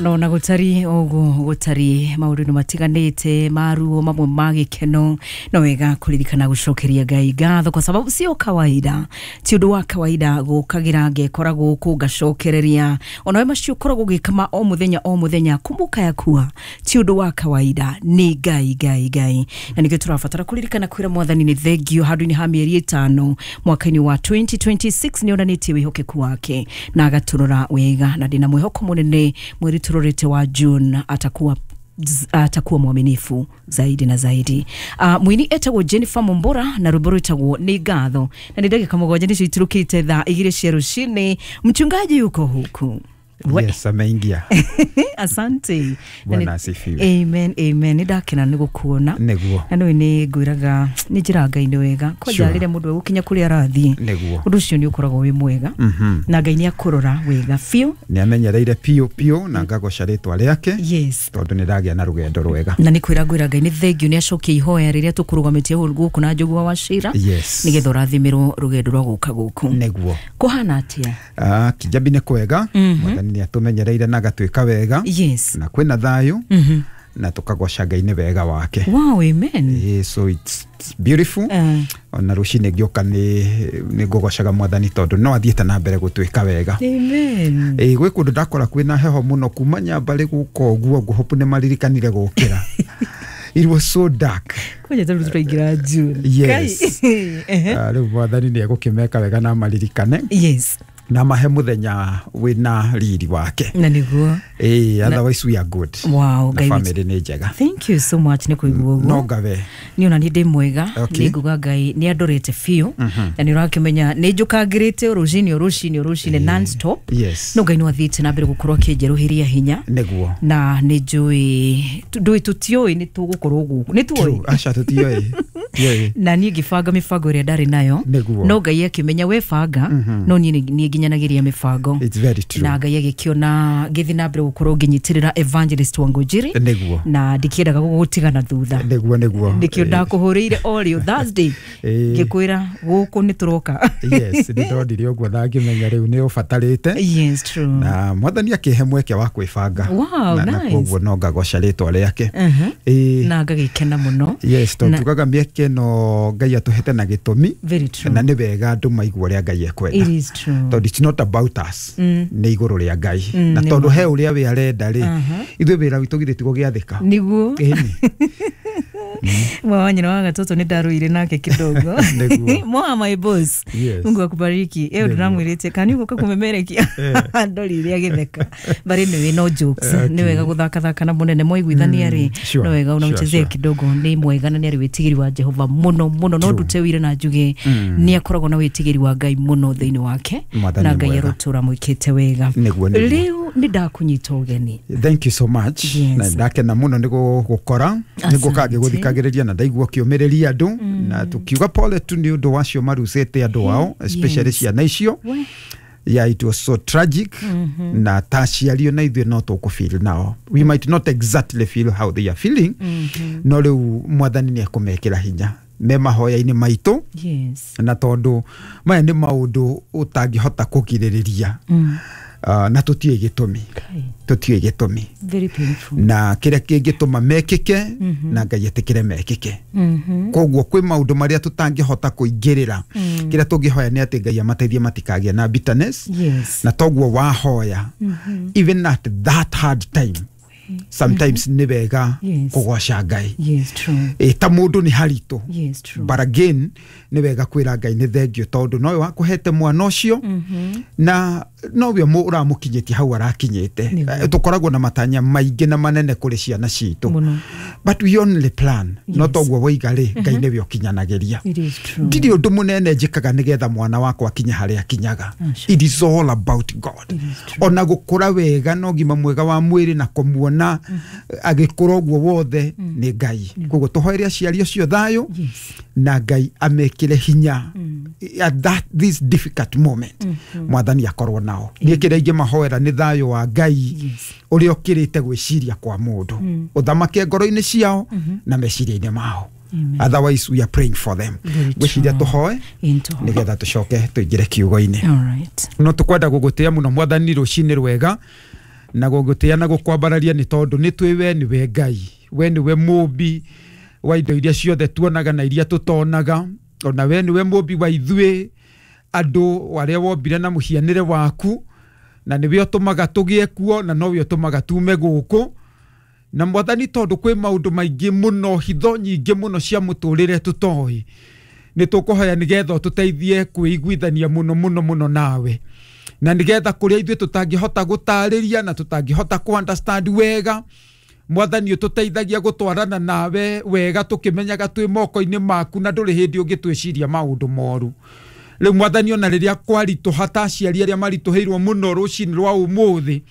No na gutari uguo gutari maundu matiganite maruo mamwe ma gikeno no wega kuririkana gucokeria Ngai ngatho kwa sababu sio kawaida, ti undu wa kawaida gukagira ngekora guku ngacokereria ona we macio ukoragwo ugikama o muthenya o muthenya. Kumbuka ya kuwa ti undu wa kawaida, ni Ngai Ngai Ngai, na nikio turabatara kuririkana kwira Mwathani ni thengio handu-ini ha mieri 5 mwaka-ini wa 2026 nionanitie wihokeku wake na agaturora wega, na ndina mwihoko munene mweri turorete wa June atakuwa mwaminifu zaidi na zaidi. Mwini etagwo Jennifer Mumbora na rwimbo rwitagwo Ni Ngatho, na ni ndagika 7 nicio iturukite thaa 2 cia rucini. Mchungaji yuko huku. Yes, ameingia. Asante. Bwana asifiwe. Amen, amen. Ni ndakena ni gukuona. Niguo. Na nĩ nĩ ngwiraga nĩ njĩra Ngai nĩ wega. Kwanja rĩrĩa mũndũ egũkinya kũrĩa arathiĩ. Niguo. Ũndũ ũcio nĩ ũkoragwo wĩ mwega. Na Ngai nĩ akũrora wega biũ. Nĩ amenyereire biũ biũ na ngagoca rĩtwa rĩake. Yes. Tondũ nĩ ndagĩa na rũgendo rwega. Na nĩ kwĩra ngwĩra Ngai nĩ thengio nĩ acokie ihoya rĩrĩa tũkũrũgamĩtie gũkũ na Njũgũa wa Cira. Yes. Nĩgetha ũrathimĩrwo rũgendo rwa gũka gũkũ. Niguo. Kũhana atĩa? Kijabi nĩ kwega. Mwathani nĩ atumenyereire na agatuĩka wega. Yes. Na kwĩna thayũ. Na tukagoca Ngai nĩ wega wake. Wow, amen. So it's beautiful. Ona rũcinĩ ngĩũka nĩ ngũgocaga Mwathani tondũ no athiĩte na mbere gũtuĩka wega. Amen. Gwĩ kũndũ ndakora kwĩna heho mũno kuma Nyambarĩ gũka ũguo ngũhopu nĩ maririkanire gũkĩra. It was so dark. Kwanja tondũ tũraingĩra June. Yes. Rĩu Mwathani nĩ egũkĩmeka wega na maririkane. Yes. Na mahe muthenya wina riri wake. Na niguo. Otherwise we are good. Wow, na family ni njega. Thank you so much ni kuigua uguo. No ngawe. Ni ona ni ndi mwega, ni nguga Ngai ni andorete biũ. Na ni urakimenya ni njukangirite rucini rucini rucini non stop. Yes. No Ngai no athiite na mbere gukorwo akinjeruhiria hinya. Niguo. Na ni njui ndui tutioi ni tugukorwo guku. Ni tuoi. Aca tutioi. Na niĩ ngĩbanga mĩbango ĩrĩa ndarĩ nayo. No Ngai akĩmenya we banga, no niĩ nĩ nginyanagiria mĩbango. It's very true. Na Ngai agĩkĩona ngĩthiĩ na mbere gũkorwo ngĩnyitĩrĩra Evangelist Wangũnjiri. Nĩguo. Na ndikĩendaga gũgũtigana thutha. Nĩguo nĩguo. Nĩkĩo ndakũhũrĩire o rĩo Thursday. Ngĩkwĩra gũkũ nĩ tũroka. Yes, nĩ ndonire ũguo na ngĩmenya rĩu nĩ ũbatarĩte. Yes, true. Na Mwathani akĩhe mweke wa kwĩbanga. Wow, na nice. Na koguo no ngagoca rĩtwa rĩake. Na ngagĩkena mũno. Yes, tondũ tugaga mĩeke no Ngai atũhete na gĩtũmi. Very true. Na nĩ wega andũ maigua ũrĩa Ngai ekwenda. It is true. Tondũ it's not about us. Nĩ igũrũ rĩa Ngai. Na tondũ he ũrĩa we arenda rĩ, ithuĩ wĩra witũ githĩ ti gũgĩathĩka. Nĩguo. Mwa nyina wa gatoto nĩ ndaruire nake kidogo. Mwa my boss. Yes. Mungu akubariki. Ĩyo ndĩramwĩrĩte kani ũgũka kũmemerekia. Ndorire agĩtheka. But anyway, no jokes. Nĩ wega gũthakathaka na mũnene mwaiguithania rĩ. No wega unamchezea kidogo. Nĩ mwega na nĩ arĩ wĩtigĩri wa Jehova mũno mũno. No ndute wĩra na njuge nĩ akoragwo na wĩtigĩri wa Ngai mũno thĩinĩ wake. Na Ngai arotũra mwĩkĩte wega. Rĩu nĩ ndakũnyita ũgeni. Thank you so much. Na ndakena mũno nĩ gũgũkora. Nĩ ngũka ngĩgũthikagĩrĩria na ndaigua ũkĩũmĩrĩria andũ. Na tukiuga pole tu nĩ ũndũ wacio marucĩte andũ ao, especially ciana icio. Yeah, it was so tragic. Na ta aciari ona ithuĩ no tũkũfeel nao. We might not exactly feel how they are feeling. No rĩu Mwathani nĩ ekũmekĩra hinya me mahoya-inĩ maitũ. Yes. Na tondũ maya nĩ maũndũ ũtangĩhota kũgirĩrĩria. Na tũtiũĩ gĩtũmi. Tũtiũĩ gĩtũmi. Very painful. Na kĩrĩa kĩngĩtũma mekĩke na Ngai etĩkĩre mekĩke. Koguo kwĩ maũndũ marĩa tũtangĩhota kũingĩrĩra. Kĩrĩa tũngĩhoya nĩ atĩ Ngai amateithie matikagĩe na bitterness. Yes. Na toguo wahoya even at that hard time sometimes nĩ wega kũgoca Ngai. Yes, true. Ta mũndũ nĩ haritũ. Yes, true. But again nĩ wega kwĩra Ngai nĩ thengio tondũ nowe wakũhete mwana ũcio na nowe ũramũkinyĩtie hau arakinyĩte. Tũkoragwo na matanya maingĩ na manene kũrĩ ciana citũ. But we only plan. No toguo woiga rĩ, Ngai nĩwe ũkinyanagĩria. Ndirĩ ũndũ mũnene njĩkaga nĩgetha mwana wakwa akinye harĩa akinyaga. It is all about God. Ona gũkũra wega na ũgima mwega wa mwĩrĩ na kũmuona agĩkũra ũguo wothe nĩ Ngai. Koguo tũhoere aciari acio thayũ na Ngai amekĩre hinya at that this difficult moment. Mwathani akorwo nao. Niĩ kĩrĩa ingĩmahoera nĩ thayũ wa Ngai ũrĩa ũkĩrĩte gwĩciria kwa mũndũ. Ũthamake ngoro-inĩ ciao na meciria-inĩ mao. Otherwise we are praying for them. Gwĩciria tũhoe nĩgetha tũcoke tũingĩre kiugo-inĩ. No tũkwenda gũgũtĩa mũno Mwathani rũcinĩ rwega. Na gũgũtĩĩa na gũkwambararia nĩ tondũ nĩ twĩ we nĩwe Ngai, we nĩwe mũmbi wa indo iria ciothe tuonaga na iria tũtonaga, ona we nĩwe mũmbi wa ithuĩ andũ arĩa wombire na mũhianĩre waku, na nĩwe ũtũmaga tũgĩe kuo na nowe ũtũmaga tume gũkũ. Na Mwathani, tondũ kwĩ maũndũ maingĩ mũno, hitho nyingĩ mũno cia mũtũrĩre tũtoĩ, nĩ tũkũhoya nĩgetha ũtũteithie kwĩiguithania mũno mũno mũno nawe, na nĩgetha kũrĩa ithuĩ tũtangĩhota gũtarĩria na tũtangĩhota kũ understand wega, Mwathani ũtũteithagia gũtwarana nawe wega tũkĩmenyaga twĩ moko-inĩ maku na ndũrĩ hĩndĩ ũngĩtwĩciria maũndũ moru. Rĩu Mwathani, ona rĩrĩa kwaritũha ta aciari arĩa maritũhĩirwo mũno rũcinĩ rwa ũmũthĩ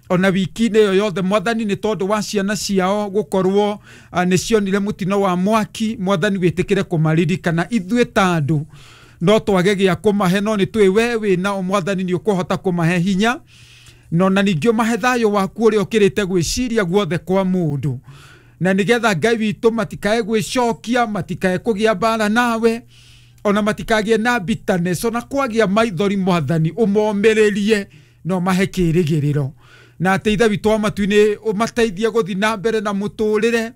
ona wiki-inĩ ĩyo yothe, Mwathani, nĩ tondũ wa ciana ciao gũkorwo nĩ cionire mũtino wa mwaki, Mwathani wĩtĩkĩre kũmaririkana. Ithuĩ ta andũ no twage gĩa kũmahe, no nĩ tũĩ we wĩ nao Mwathani, nĩ ũkũhota kũmahe hinya, no na ningĩ ũmahe thayũ waku ũrĩa ũkĩrĩte gwĩciria guothe kwa mũndũ, na nĩgetha Ngai witũ matikae gwĩcokia, matikae kũgĩa mbara nawe, ona matikagĩe na bitterness, ona kwagĩa maithori, Mwathani ũmomĩrĩrie no mahe kĩrĩgĩrĩro, na atĩ Ithe witũ wa matu-inĩ ũmateithie gũthiĩ na mbere na mũtũrĩre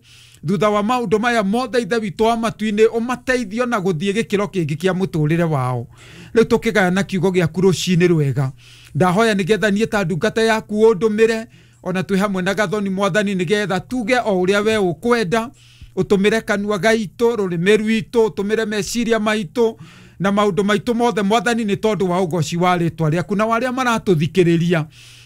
thutha wa maũndũ maya mothe. Ithe witũ wa matu-inĩ, ũmateithie ona gũthiĩ gĩkĩro kĩngĩ kĩa mũtũrĩre wao. Rĩu tũkĩgayana kiugo gĩaku rũcinĩ rwega, ndahoya nĩgetha niĩ ta ndungata yaku ũndũmĩre, ona twĩ hamwe na Gathoni, Mwathani, nĩgetha tuge o ũrĩa we ũkwenda. Ũtũmĩre kanua gaitũ, rũrĩmĩ rwitũ, ũtũmĩre meciria maitũ na maũndũ maitũ mothe, Mwathani, nĩ tondũ wa ũgoci wa rĩtwa rĩaku. Na warĩa maratũthikĩrĩria,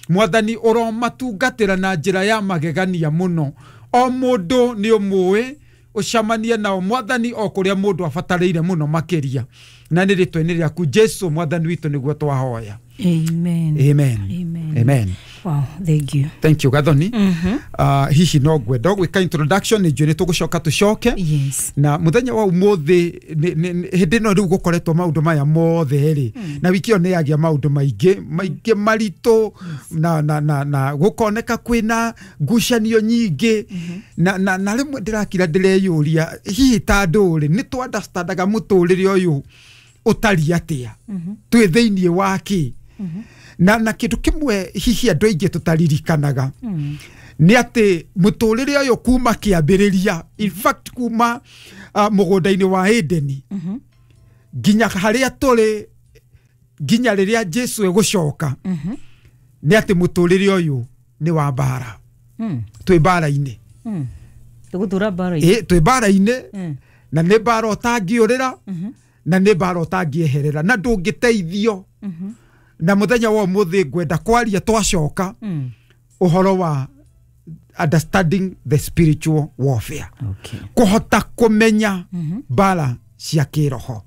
Mwathani, ũromatungatĩra na njĩra ya magegania mũno. O mũndũ nĩ ũmũĩ, ũcemanie nao Mwathani o kũrĩa mũndũ abatarĩire mũno makĩria, na nĩ rĩtwa-inĩ rĩaku Jesu Mwathani witũ nĩguo twahoya. Amen. Amen. Amen. Amen. Wow, thank you. Thank you, Gathoni. Hihi no ngwenda gwĩka introduction, nĩ njũĩ nĩ tũgũcoka tũcoke. Yes. Na muthenya wa umuthi hĩndĩ ĩno rĩu gũkoretwo maũndũ maya mothe rĩ, na wiki ĩyo nĩ yagĩa maũndũ maingĩ maingĩ maritũ, na gũkoneka kwĩna ngucanio nyingĩ, na rĩmwe ndĩrakira ndĩreyũria, hihi ta andũ rĩ, nĩ tũ understandaga mũtũrĩre ũyũ ũtariĩ atĩa, twĩ thĩiniĩ wa kĩ? Na kĩndũ kĩmwe hihi andũ aingĩ tũtaririkanaga nĩ atĩ mũtũrĩre ũyũ kuma kĩambĩrĩria, in fact kuma mũgũnda-inĩ wa Edeni nginya harĩa tũrĩ, nginya rĩrĩa Jesu egũcoka, nĩ atĩ mũtũrĩre ũyũ nĩ wa mbara. Twĩ mbara-inĩ. Tũgũtũra mbara-inĩ. Twĩ mbara-inĩ, na nĩ mbara ũtangĩũrĩra, na nĩ mbara ũtangĩeherera, na ndũngĩteithio. Na muthenya wa ũmũthĩ ngwenda kwaria twacoka ũhoro wa understanding the spiritual warfare. Okay. Kũhota kũmenya mbara cia kĩroho.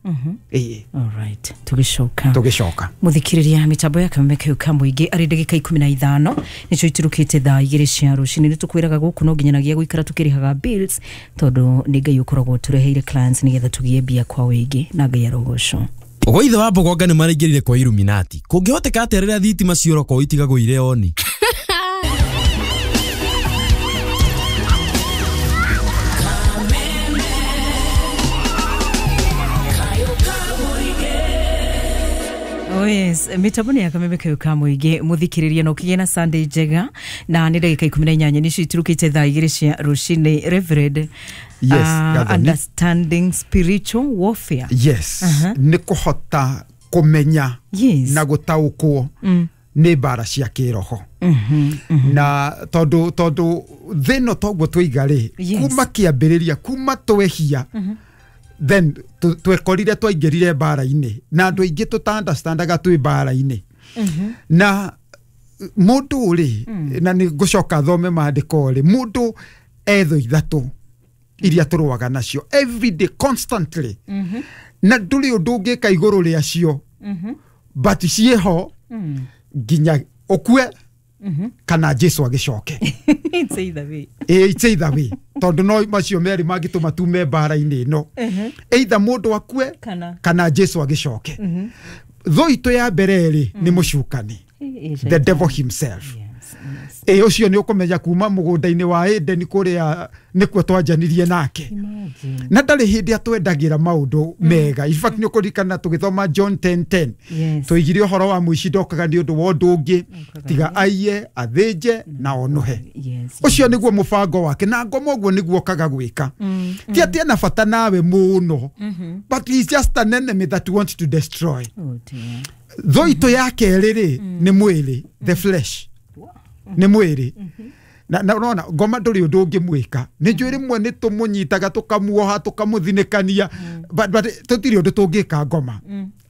Ĩĩ. All right. Tũgĩcoka. Tũgĩcoka. Muthikiriria mitambo ya Kameme kĩu ka mũingĩ arĩ ndagĩka 15 nĩcio iturukĩte thaa 2 cia rũcinĩ. Nĩ tũkwĩraga gũkũ no nginyanagia gũikara tũkĩrĩhaga bills, tondũ nĩ Ngai ũkoragwo tũreheire clients nĩgetha tũgĩe mbia kwa wĩingĩ, na Ngai arogocwo. Ũgo ithe wa Mbogonga nĩ maraingĩrire kwa Illuminati. Kũngĩhoteka atĩa rĩrĩa thitima ciora kwao itigagũire oni? Oh yes, mitambo nĩ ya Kameme kĩu ka mũingĩ, mũthikĩrĩria, na ũkĩgĩa na Sunday njega, na nĩ ndagĩka 18 nĩcio iturukĩte thaa 2 cia rũcinĩ. Reverend, Yes, Gathoni. Understanding spiritual warfare. Yes, nĩ kũhota kũmenya na gũtaũkwo nĩ mbara cia kĩroho, na tondũ thĩ ĩno toguo twaiga rĩ, kuma kĩambĩrĩria, kuma twehia, then twekorire twaingĩrire mbara-inĩ, na andũ aingĩ tũta understandaga twĩ mbara-inĩ. Na mũndũ rĩ, na nĩ ngũcoka thome maandĩko rĩ, mũndũ etho ithatũ iria tũrũaga nacio every day, constantly, na ndũrĩ ũndũ ũngĩka igũrũ rĩacio, but ciĩho nginya ũkue kana Jesu agĩcoke. It's either way. Ĩ, it's either way, tondũ no macio merĩ mangĩtũma tume mbara-inĩ ĩno, either mũndũ akue Kana. Jesu agĩcoke. Thũ itũ ya mbere rĩ, nĩ mũcukani, the devil himself. Yes. Ĩ ũcio nĩ ũkũmenya kuma mũgũnda-inĩ wa Eden kũrĩa nĩkuo twanjanirie nake. Imagine. Na ndarĩ hĩndĩ atwendagĩra maũndũ mega. In fact nĩ ũkũririkana tũgĩthoma John 10:10. Yes. Tũigire ũhoro wa mũici ndokaga nĩ ũndũ wa ũndũ ũngĩ Okaga tiga aiye, athĩnje na onuhe. Yes. Ũcio nĩguo mũbango wake na ngoma ũguo nĩguo okaga gwĩka. Ti atĩ ena bata nawe mũno, but he's just an enemy that wants to destroy. Oh dear. Thũ itũ ya kerĩ rĩ nĩ mwĩrĩ, the flesh. Nĩ mwĩrĩ. Na ũrona ngoma ndũrĩ ũndũ ũngĩmwĩka. Nĩ njũĩ rĩmwe nĩ tũmũnyitaga tũkamuoha tũkamũthinĩkania, but tũtirĩ ũndũ tũngĩka ngoma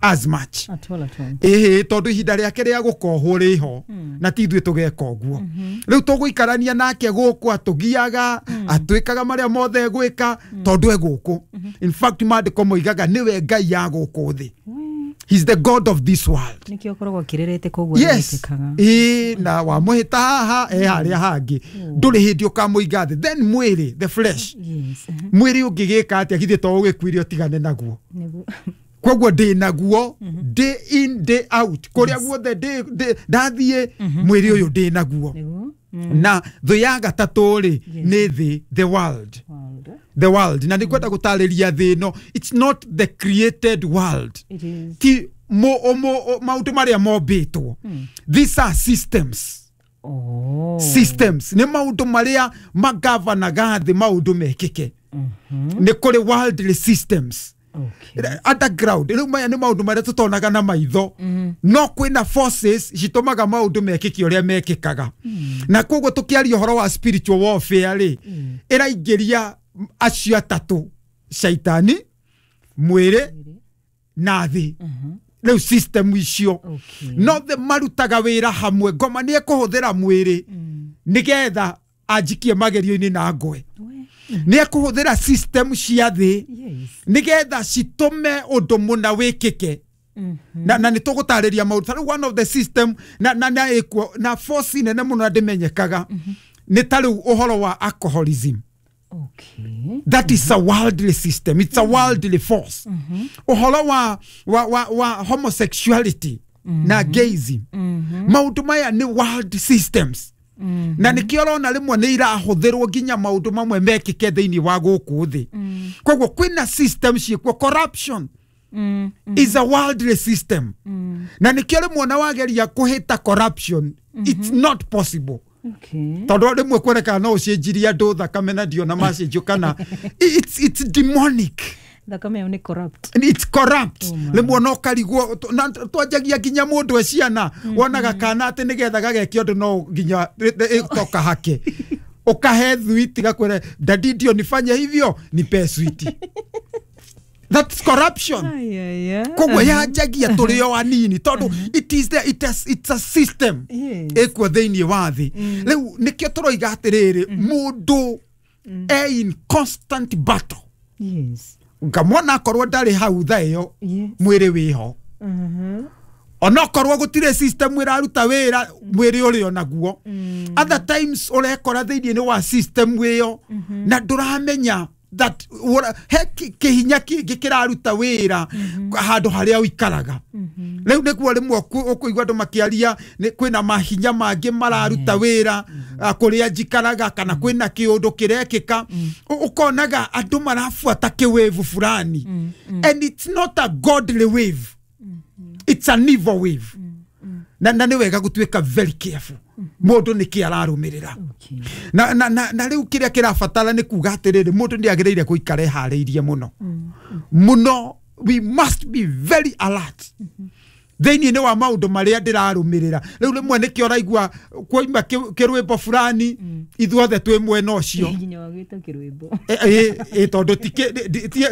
as much. At all, at all. Ĩhĩ, tondũ ihinda rĩake rĩa gũkohwo rĩho na ti ithuĩ tũgeka ũguo. Rĩu tũgũikarania nake gũkũ atũgiaga, atwĩkaga marĩa mothe egwĩka tondũ e gũkũ. In fact maandĩko moigaga nĩwe Ngai ya gũkũ thĩ. He's the God of this world. Nĩkĩo ũkoragwo akĩrĩrĩte koguo Yes. nĩetĩkaga. Ĩĩ, na wamũhĩta haha e harĩa hangĩ, ndũrĩ hĩndĩ ũkamũiga thĩ. Then mwĩrĩ, the flesh. Yes. Mwĩrĩ ũngĩgĩka atĩa githĩ to ũgĩkuire ũtigane naguo? Nĩguo. Koguo ndĩ naguo day in day out, kũrĩa guothe ndathiĩ mwĩrĩ ũyũ ndĩ naguo. Nĩguo. Na thũ ya gatatũ rĩ nĩ thĩ, the world. World. The world. Na nĩngwenda gũtarĩria thĩ ĩno, it's not the created world. It is. Ti maũndũ marĩa mombĩtwo. These are systems. Oh. Systems nĩ maũndũ marĩa magavanaga thĩ maũndũ mekĩke. Nĩ kũrĩ worldly systems. Okay. Underground. Rĩu maya nĩ maũndũ marĩa tũtonaga na maitho, no kwĩna forces citũmaga maũndũ mekĩke ũrĩa mekĩkaga. Na koguo tũkĩaria ũhoro wa spiritual warfare rĩ, ĩraingĩria acio atatũ, caitani, mwĩrĩ na thĩ. Rĩu system icio Okay. no the marutaga wĩra hamwe. Ngoma nĩ ekũhũthĩra mwĩrĩ nĩgetha anjikie magerio-inĩ na ngwe. Nĩ ekũhũthĩra system cia thĩ Yes. nĩgetha citũme ũndũ mũna wĩkĩke. Na nĩ tũgũtarĩria maũndũ. Ta rĩu one of the system na ĩkuo na force nene mũno na ndĩmenyekaga nĩ ta rĩu ũhoro wa alcoholism. Okay. That is a worldly system. It's a worldly force. Ũhoro wa homosexuality na gayism. Maũndũ maya nĩ world systems. Na nĩkĩo ũrona rĩmwe nĩ irahũthĩrwo nginya maũndũ mamwe mekĩke thĩinĩ wa gũkũ thĩ. Koguo kwĩna system ciĩkuo. Corruption is a worldly system. Na nĩkĩo rĩmwe ona wageria kũhĩta corruption, it's not possible. Okay. Tondũ rĩmwe kuonekaga no ũcenjirie andũ thakame na ndiona macenjio kana it's demonic. Thakame ĩyo nĩ corrupt. And it's corrupt. Oh my. Rĩmwe no karigwo na twanjagia nginya mũndũ e ciana wonaga kana atĩ nĩgetha gageke ũndũ no nginya ĩtoka hake ũkahe thwiti gakwĩre dadi ndio nifanye hivyo nipe switi. That's corruption. Ayaya. Koguo yanjagia tũrĩ o anini tondũ it is there, it's a system Yes. ĩkuo thĩinĩ wa thĩ. Rĩu nĩkĩo tũroiga atĩrĩrĩ, mũndũ e in constant battle. Yes. Ngamwona akorwo ndarĩ hau thaa ĩyo, Yes. mwĩrĩ wĩho. Onokorwo gũtirĩ system ĩraruta wĩra, mwĩrĩ ũrĩ onaguo. Other times ũrekora thĩinĩ wa system ĩyo na ndũramenya that he kĩhinya kĩngĩ kĩraruta wĩra handũ harĩa ũikaraga. Rĩu nĩguo rĩmwe ũkũigua andũ makĩaria kwĩna mahinya mangĩ mararuta wĩra kũrĩa njikaraga, kana kwĩna kĩũndũ kĩrekĩka. Ũkonaga andũ marabuata kĩwĩvu fulani, and it's not a godly wave, it's an evil wave. Na nĩ wega gũtuĩka very careful mũndũ nĩkĩ ararũmĩrĩra. Okay. Na rĩu kĩrĩa kĩrabatara nĩ kuga atĩrĩrĩ, mũndũ nĩ agĩrĩire gũikara eharĩirie mũno mũno. We must be very alert thĩinĩ wa maũndũ marĩa ndĩrarũmĩrĩra. Rĩu rĩmwe nĩkĩo ũraigua kwoima kĩrwĩmbo fulani, ithuothe twĩ mwena ũcio. Nginya wagĩta kĩrwĩmbo. Tondũ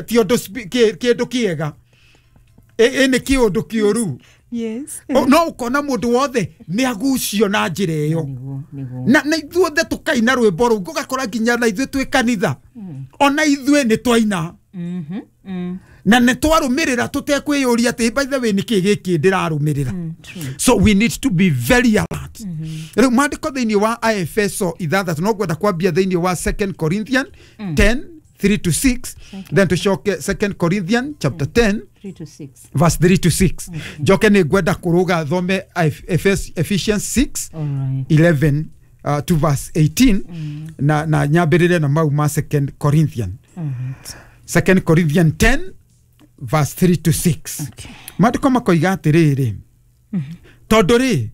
ti ũndũ kĩndũ kĩega, nĩ kĩũndũ kĩũru. Yes. No ũkona mũndũ wothe nĩ agucio na njĩra ĩyo. Nĩguo, nĩguo. Na ithuothe tũkaina rwĩmbo rũu, ũgakora nginya na ithuĩ twĩ kanitha, ona ithuĩ nĩ twaina na nĩ twarũmĩrĩra tũtekwĩyũria atĩ by the way nĩkĩ gĩkĩ ndĩrarũmĩrĩra. So we need to be very alert. Rĩu maandĩko thĩinĩ wa Aefeso 6 no ngwenda kwambia thĩinĩ wa 2 Corinthians 10 3 to 6, then tũcoke 2 Corinthians chapter 10 3 to 6 verse 3 to 6. Njoke nĩ ngwenda kũrũga thome Ephesians 6 All right. 11 to verse 18 na nyambĩrĩre na mau ma 2 Corinthian. 2 Corinthian 10 verse 3 to 6. Okay. Maandĩko makoiga atĩrĩrĩ, tondũ rĩ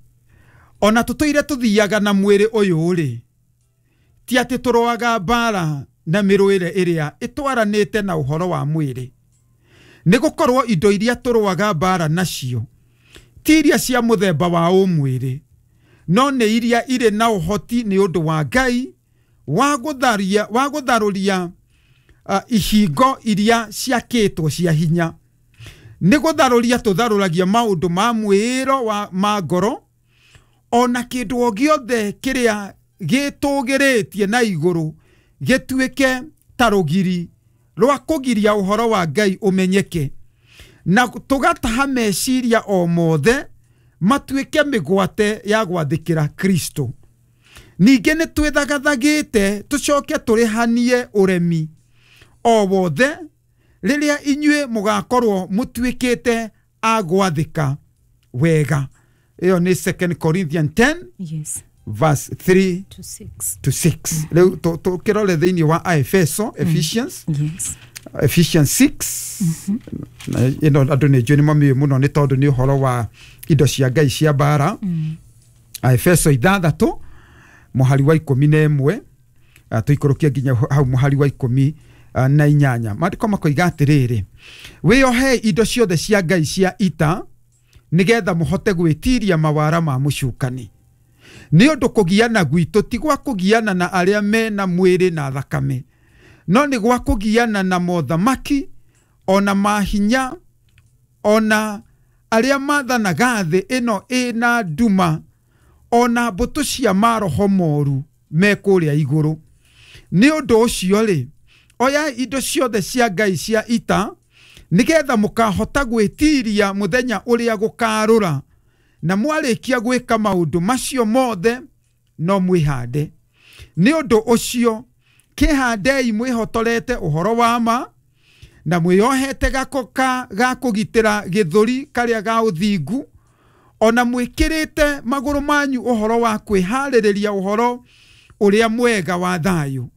ona tũtũire tũthiaga na mwĩrĩ ũyũ rĩ, ti atĩ tũrũaga mbara na mĩrũĩre ĩrĩa ĩtwaranĩte na ũhoro wa mwĩrĩ, nĩ gũkorwo indo iria tũrũaga mbara nacio ti iria cia mũthemba wa ũmwĩrĩ, no nĩ iria irĩ na ũhoti nĩ ũndũ wa Ngai wa gũtharũria ihingo iria ciakĩtwo cia hinya. Nĩ gũtharũria tũtharũragia maũndũ ma mwĩĩro ma ngoro, ona kĩndũ o gĩothe kĩrĩa gĩtũgĩrĩtie na igũrũ gĩtuĩke ta rũgiri rwa kũgiria ũhoro wa Ngai ũmenyeke, na tũgataha meciria o mothe matuĩke mĩgwate ya gwathĩkĩra Kristo. Ningĩ nĩ twĩthagathagĩte tũcoke tũrĩhanie ũremi o wothe rĩrĩa inyuĩ mũgakorwo mũtuĩkĩte a gwathĩka wega. Ĩyo nĩ 2 Corinthians 10 yes verse 3 to 6 to 6. Rĩu tũkĩrore thĩinĩ wa Efeso, Ephesians, yes Ephesians 6. Ĩno andũ nĩ njũĩ nĩ mamĩũĩ mũno nĩ tondũ nĩ ũhoro wa indo cia Ngai cia mbara. Efeso 6 mũhari wa 11 tũikũrũkie nginya hau mũhari wa 18. Maandĩko makoiga atĩrĩrĩ, wĩyohei indo ciothe cia Ngai cia ita nĩgetha mũhote gwĩtiria mawara ma mũcukani. Nĩ ũndũ kũgiana gwitũ ti gwa kũgiana na arĩa mena mwĩrĩ na thakame, no nĩ gwa kũgiana na mothamaki ona mahinya ona arĩa mathanaga thĩ ĩno ĩna nduma, ona mbũtũ cia maroho moru me kũrĩa igũrũ. Nĩ ũndũ ũcio rĩ, oya indo ciothe cia Ngai cia ita nĩgetha mũkahota gwĩtiria mũthenya ũrĩa gũkarũra, na mwarĩkia gwĩka maũndũ macio mothe no mwĩhande. Nĩ ũndũ ũcio kĩhandei mwĩhotorete ũhoro wa ma, na mwĩyohete gako ga kũgitĩra gĩthũri karĩa ga ũthingu, ona mwĩkĩrĩte magũrũ manyu ũhoro wa kwĩharĩrĩria ũhoro ũrĩa mwega wa thayũ.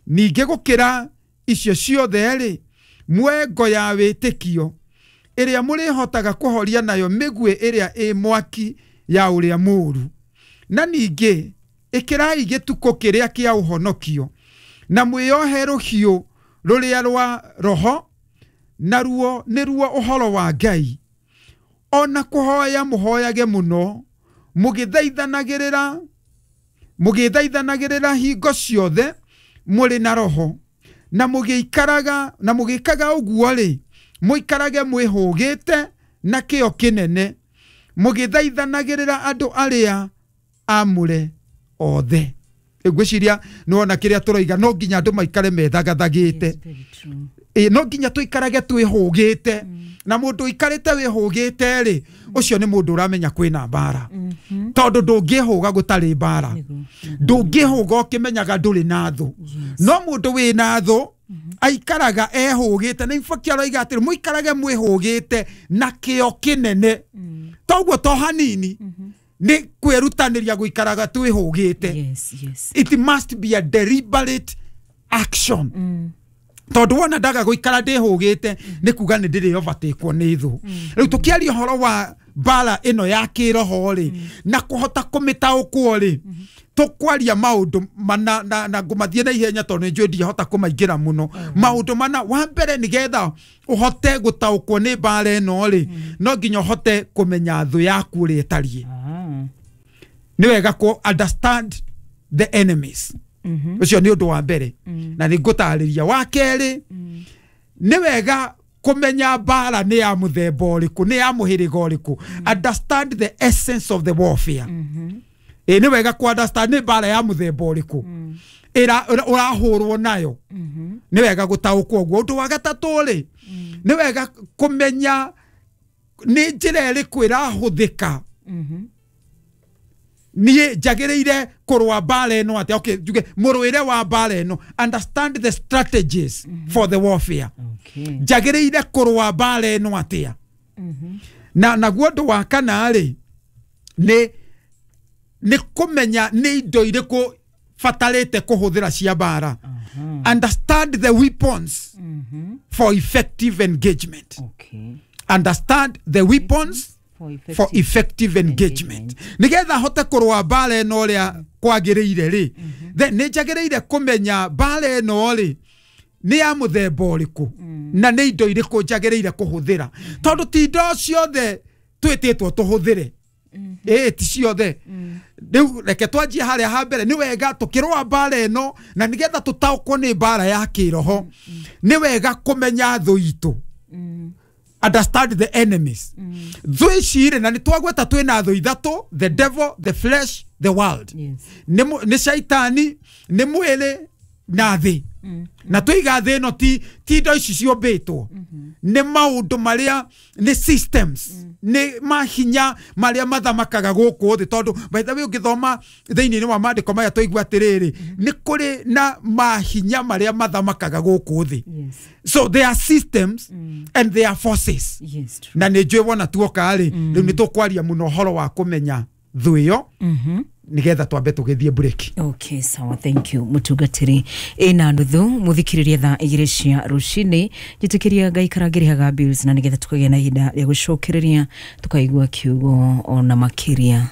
Ningĩ gũkĩra icio ciothe rĩ, muoe ngo ya wĩtĩkio ĩrĩa mũrĩhotaga kũhoria nayo mĩguĩ ĩrĩa ĩ mwaki ya ũrĩa mũũru. Na ningĩ ĩkĩrai gĩtukũ kĩrĩa kĩa ũhonokio, na mwĩyohe rũhiũ rũrĩa rwa roho, naruo nĩruo ũhoro wa Ngai. Ona kũhoya mũhoyage mũno, mũgĩthaithanagĩrĩra hingo ciothe mũrĩ na roho, na mũgĩikaraga na mũgĩkaga ũguo rĩ, mũikarage mwĩhũgĩte na kĩyo kĩnene, mũgĩthaithanagĩrĩra andũ arĩa amũre othe. Ngwĩciria nĩwona kĩrĩa tũroiga, no nginya andũ maikare methagathagĩte. No nginya tũikarage twĩhũgĩte. Na mũndũ ũikarĩte wĩhũgĩte rĩ, ũcio nĩ mũndũ ũramenya kwĩna mbara. Tondũ ndũngĩhũga gũtarĩ mbara. Ndũngĩhũga ũkĩmenyaga ndũrĩ na thũ. No mũndũ wĩna thũ aikaraga ehũgĩte, na in fact aroiga atĩrĩ, mũikarage mwĩhũgĩte na kĩyo kĩnene. Toguo to hanini, nĩ kwĩrutanĩria gũikaraga twĩhũgĩte. Yes, yes. It must be a deliberate action. Tondũ wona ndaga gũikara ndĩhũgĩte nĩ kuga nĩ ndĩrĩ overtakewo nĩ thũ. Rĩu tũkĩaria ũhoro wa mbara ĩno ya kĩroho rĩ, na kũhota kũmĩtaũkwo rĩ, tũkwaria maũndũ mana na ngũmathiĩ na ihenya tondũ nĩ njũĩ ndingĩhota kũmaingĩra mũno. Maũndũ mana, wa mbere nĩgetha ũhote gũtaũkwo nĩ mbara ĩno rĩ, no nginya ũhote kũmenya thũ yaku ũrĩa ĩtariĩ. Nĩ wega kũ understand the enemies. Ũcio nĩ ũndũ wa mbere, na nĩ ngũtarĩria. Wa kerĩ, nĩ wega kũmenya mbara nĩ ya mũthemba ũrĩkũ, nĩ ya mũhĩrĩga ũrĩkũ. Understand the essence of the warfare. Nĩ wega kũ understand nĩ mbara ya mũthemba ũrĩkũ ũrahũrwo nayo. Nĩ wega gũtaũkwo ũguo. Ũndũ wa gatatũ rĩ, nĩ wega kũmenya nĩ njĩra ĩrĩkũ ĩrahũthĩka. Niĩ njagĩrĩire kũrũa mbara ĩno atĩa? Okay, njuge mũrũĩre wa mbara ĩno. Understand the strategies for the warfare. Njagĩrĩire kũrũa mbara ĩno atĩa? Na naguo ũndũ wa kana rĩ, nĩ Nĩ kũmenya nĩ indo irĩkũ batarĩte kũhũthĩra cia mbara. Understand the weapons for effective engagement. Understand the weapons for effective engagement. Nigetha hote kũrũa mbara ĩno ũrĩa kwagĩrĩire rĩ, then nĩ njagĩrĩire kũmenya mbara ĩno rĩ nĩ ya mũthemba ũrĩkũ na nĩ indo irĩkũ njagĩrĩire kũhũthĩra, tondũ ti indo ciothe twĩtĩtwo tũhũthĩre. Ĩĩ, ti ciothe. Rĩu reke twanjie harĩa ha mbere. Nĩ wega tũkĩrũa mbara ĩno na nĩgetha tũtaũkwo nĩ mbara ya kĩroho, nĩ wega kũmenya thũ itũ. Understand the enemies. Thũ ici rĩ, na nĩ twagweta twĩna thũ ithatũ: the devil, the flesh, the world. Nĩ caitani, nĩ mwĩrĩ na thĩ. Na tũiga thĩ ĩno ti indo ici ciũmbĩtwo, nĩ maũndũ marĩa nĩ systems, nĩ mahinya marĩa mathamakaga gũkũ thĩ. Tondũ by the way, ũngĩthoma thĩinĩ wa maandĩko maya, twaigua atĩrĩrĩ, nĩ kũrĩ na mahinya marĩa mathamakaga gũkũ thĩ. So there are systems and there are forces. Yes, true. Na nĩ njũĩ wona tuoka rĩ, rĩu nĩ tũkwaria mũno ũhoro wa kũmenya thũ ĩyo, nĩgetha twambe tũgĩthiĩ break. Okay, sawa, thank you mutungatiri. Ina nuthu muthikiriria thaa 2 cia rucini, njitikiria ngaikara ngirihaga bills na nigetha tukagĩa na ihinda rĩa gũcokereria tukaigua kiugo ona makiria.